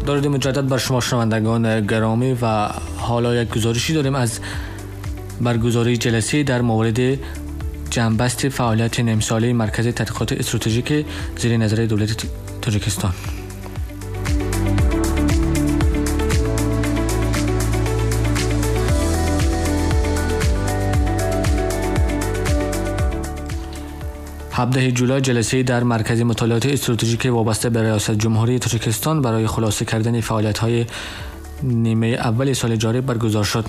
درود مجدد بر شما شنوندگان گرامی و حالا یک گزارشی داریم از برگزاری جلسه در مورد جنبست فعالیت نیمساله مرکز تحقیقات استراتژیک زیر نظر دولت تاجیکستان. هفده جولای جلسه در مرکز مطالعات استراتژیک وابسته به ریاست جمهوری تاجیکستان برای خلاصه کردن فعالیت‌های نیمه اول سال جاری برگزار شد.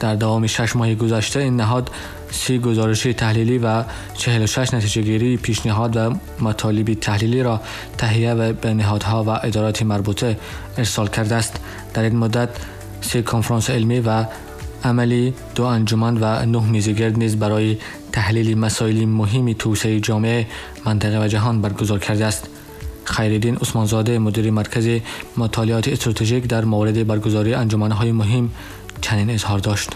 در دوام 6 ماه گذشته این نهاد 30 گزارش تحلیلی و 46 نتیجه‌گیری پیشنهاد و مطالب تحلیلی را تهیه و به نهادها و ادارات مربوطه ارسال کرده است. در این مدت 3 کنفرانس علمی و عملی، 2 انجمن و 9 میزگرد نیز برای تحلیل مسائل مهم توسعه جامعه، منطقه و جهان برگزار کرده است. خیرالدین عثمانزاده مدیر مرکز مطالعات استراتژیک در مورد برگزاری انجمن‌های مهم چنین اظهار داشت.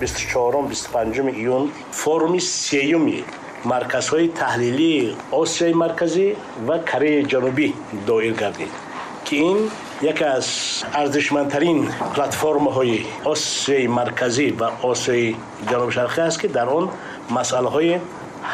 24 25 июн форуми сеюми марказҳои таҳлилии Осиёи Марказӣ ва Кореяи Ҷанубӣ доир гардид, ки ин яке аз арзишмандтарин платформаҳои Осиёи Марказӣ ва Осиёи Ҷануби Шарқӣ аст, ки дар он масъалаҳои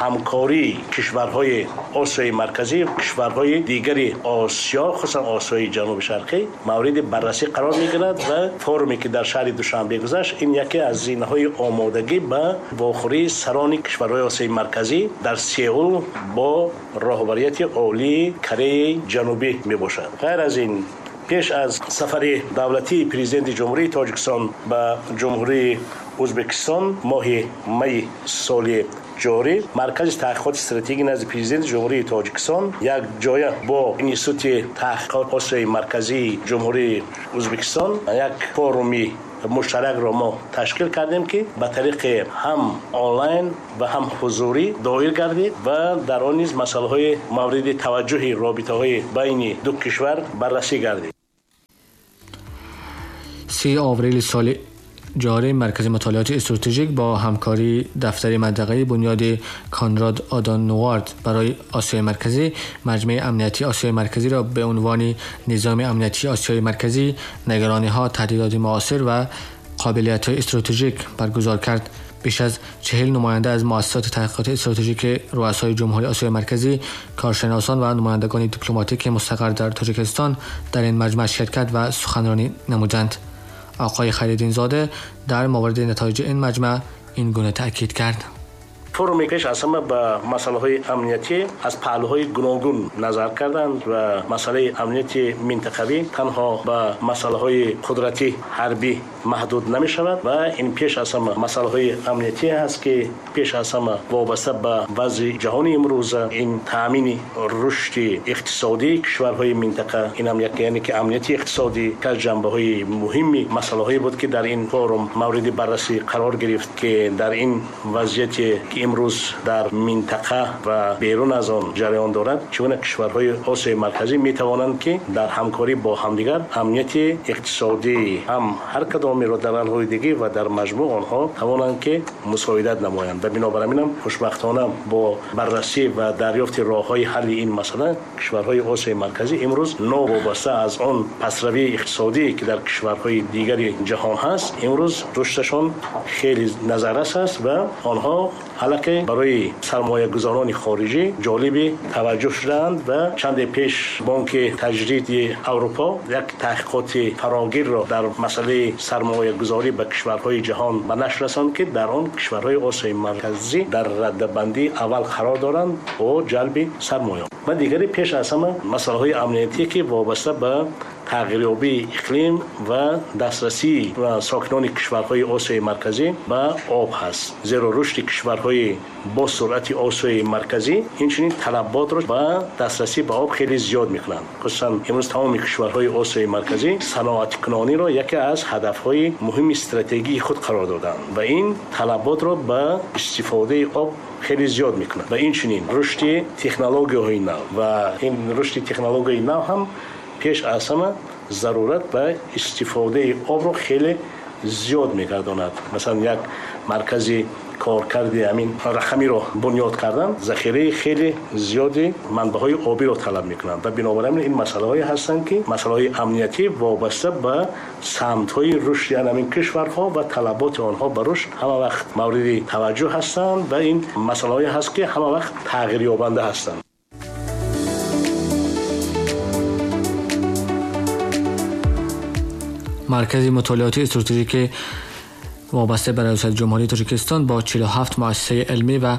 ҳамкории кишварҳои Осиёи Марказӣ, кишварҳои дигари Осиё, хусусан Осиёи Ҷануби Шарқӣ мавриди баррасӣ қарор мегирад ва форуме ки дар шаҳри Душанбе гузашт, ин яке аз зинаҳои омодагӣ ба вохӯрии сарони кишварҳои Осиёи Марказӣ дар Сеул бо роҳбарияти олии Кореяи Ҷанубӣ мебошад. Ғайр аз ин, пеш аз сафари давлатии президенти Ҷумҳурии Тоҷикистон ба Ҷумҳурии Ӯзбекистон моҳи майи соли ҷорӣ, Маркази таҳқиқоти стратегӣ назди президенти Ҷумҳурии Тоҷикистон якҷоя бо Институти таҳқиқоти Осиёи Марказии Ҷумҳурии Ӯзбекистон як форуми муштаракро мо ташкил кардем, ки ба тариқи ҳам онлайн ва ҳам ҳузурӣ доир гардид ва дар он низ масъалаҳои мавриди таваҷҷӯҳи робитаҳои байни ду кишвар баррасӣ гардид. 3 آوریل سال جاری مرکز مطالعات استراتژیک با همکاری دفتر منطقه‌ای بنیاد کانراد آدانوارد برای آسیای مرکزی مجمع امنیتی آسیای مرکزی را به عنوان نظام امنیتی آسیای مرکزی، نگرانی‌ها، تهدیدات معاصر و قابلیت‌های استراتژیک برگزار کرد. بیش از 40 نماینده از مؤسسات تحقیقات استراتژیک رؤسای جمهوری آسیای مرکزی، کارشناسان و نمایندگان دیپلماتیک مستقر در تاجیکستان در این مجمع شرکت و سخنرانی نمودند. آقای خیرالدین زاده در مورد نتایج این مجمع این گونه تأکید کرد. форуме пеш аз ҳама ба масъалаҳои амниятӣ аз паҳлӯҳои гуногун назар карданд ва масъалаи амнияти минтақавӣ танҳо ба масъалаҳои қудратӣ ҳарбӣ маҳдуд намешавад ва ин пеш аз ҳама масъалаҳои амниятӣ ҳаст, ки пеш аз ҳама вобаста ба вазъи ҷаҳони имрӯза, ин таъмини рушди иқтисодии кишварҳои минтақа, ин ҳам як, яъне ки амнияти иқтисодӣ ки аз ҷанбаҳои муҳими масъалаҳое буд, ки дар ин форум мавриди баррасӣ қарор гирифт, ки дар ин вазъияте ки имрӯз дар минтақа ва берун аз он ҷараён дорад, чӣ гуна кишварҳои Осиёи Марказӣ метавонанд, ки дар ҳамкорӣ бо ҳамдигар амнияти иқтисодӣ ҳам ҳар кадомеро дар алоҳидагӣ ва дар маҷмӯъ онҳо тавонанд, ки мусоидат намоянд. Ва бинобар ин ҳам хушбахтона бо баррасӣ ва дарёфти роҳҳои ҳалли ин масъала кишварҳои Осиёи Марказӣ имрӯз новобаста аз он пасравии иқтисодӣ, ки дар кишварҳои дигари ҷаҳон ҳаст, имрӯз рушдашон хеле назаррас аст ва онҳо аллакай барои сармоягузорони хориҷӣ ҷолиби таваҷҷӯҳ шудаанд ва чанде пеш Бонки Таҷдиди Аврупо як таҳқиқоти фарогирро дар масъалаи сармоягузорӣ ба кишварҳои ҷаҳон ба нашр расонд, ки дар он кишварҳои Осиёи Марказӣ дар раддабандии аввал қарор доранд бо ҷалби сармоя. Ва дигаре пеш аз ҳама масъалаҳои амниятӣ, ки вобаста ба тағйирёбии иқлим ва дастрасии сокинони кишварҳои Осиёи Марказӣ ба об ҳаст. Зеро рушди кишварҳои бо суръати Осиёи Марказӣ инчунин талаботро ба дастрасӣ ба об хеле зиёд мекунанд. Хусусан имрӯз тамоми кишварҳои Осиёи Марказӣ саноаткунониро яке аз ҳадафҳои муҳими стратегии худ қарор доданд ва ин талаботро ба истифодаи об хеле зиёд мекунад. Ва инчунин рушди технологияҳои нав ва ин рушди технологияи нав ҳам пеш аз ҳама зарурат ба истифодаи обро хеле зиёд мегардонад. Масалан, як маркази Коркарди ҳамин рақамиро бунёд кардан захираи хеле зиёди манбаъҳои обиро талаб мекунанд ва бинобар ин ин масъалаҳое ҳастанд, ки масъалаҳои амниятӣ вобаста ба самтҳои рушди ҳамин кишварҳо ва талаботи онҳо ба рушд ҳама вақт мавриди таваҷҷӯҳ ҳастанд ва ин масъалаҳое ҳаст, ки ҳама вақт тағйирёбанда ҳастанд. Маркази мутолиоти стратегик вобаста ба риёсати ҷумҳурии Тоҷикистон бо 47 муассисаи илмӣ ва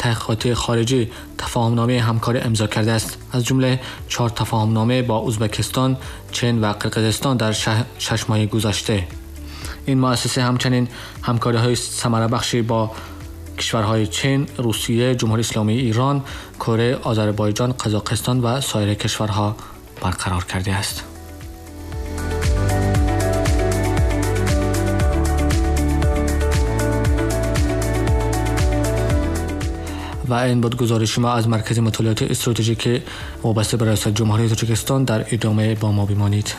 таҳқиқоти хориҷӣ тафоҳумномаи ҳамкорӣ имзо кардааст. Аз ҷумла 4 тафоҳумнома бо Ӯзбекистон, Чин ва Қирғизистон дар 6 моҳи гузашта. Ин муассиса ҳамчунин ҳамкориҳои самарабахши бо кишварҳои Чин, Русия, Ҷумҳурии Исломии Ирон, Корея, Озарбойҷон, Қазоқистон ва соир кишварҳо барқарор кардааст. و این بود گزارش ما از مرکز مطالعات استراتژیک وابسته به ریاست جمهوری تاجیکستان. در ادامه با ما بمانید.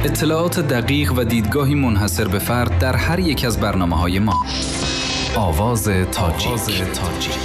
اطلاعات دقیق و دیدگاهی منحصر به فرد در هر یک از برنامه‌های ما. آواز تاجیک.